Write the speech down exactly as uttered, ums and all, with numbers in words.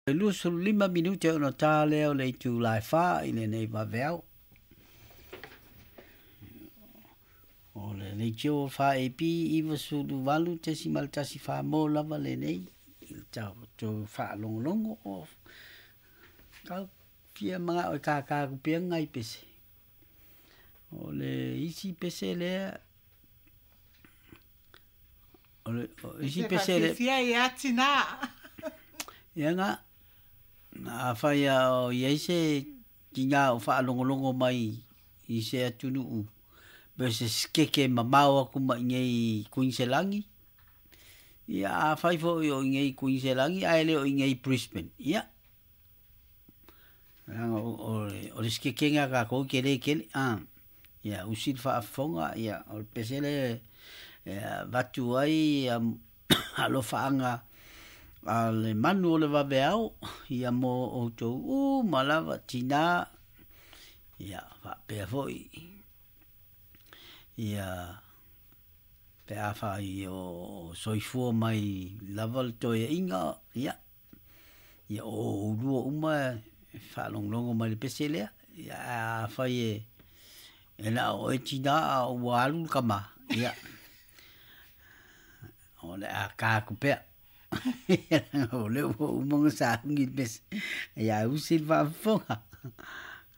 Luasefulu lima minute ona ta lea o le itula e fa i lenei vaveao. O le leitio fa A P iva sulu valu tesimal tasi fa mo lava lenei i le tatou faalogologo o kau fia magao e kākā kupea ngai pese. O le isi pese lea o le o isi pese le fia ia tina. Ia nga a fai o iai se tina o faalogologo mai i se atunuu pe se skeke mamao aku mai nei Kuiniselani. Ia a fai foi o nei Kuiniselani ae le o nei Brisbane. Ia o o le skeke nga ka ko kele kele a ia usil faafofoga ia o le pese le vatu ai alofaga a le manu o le vaveao ia mo outou uma lava tina ia faapea foi ia pe afai o soifua mai lava le toeaiga ia ia o oulua uma e faalogologo mai le pese lea ia afai e e na o oe tina a ua alu le kama ia o le a ka aku pea. O le ua uma ona saugi le pese ia usi le faafofoga.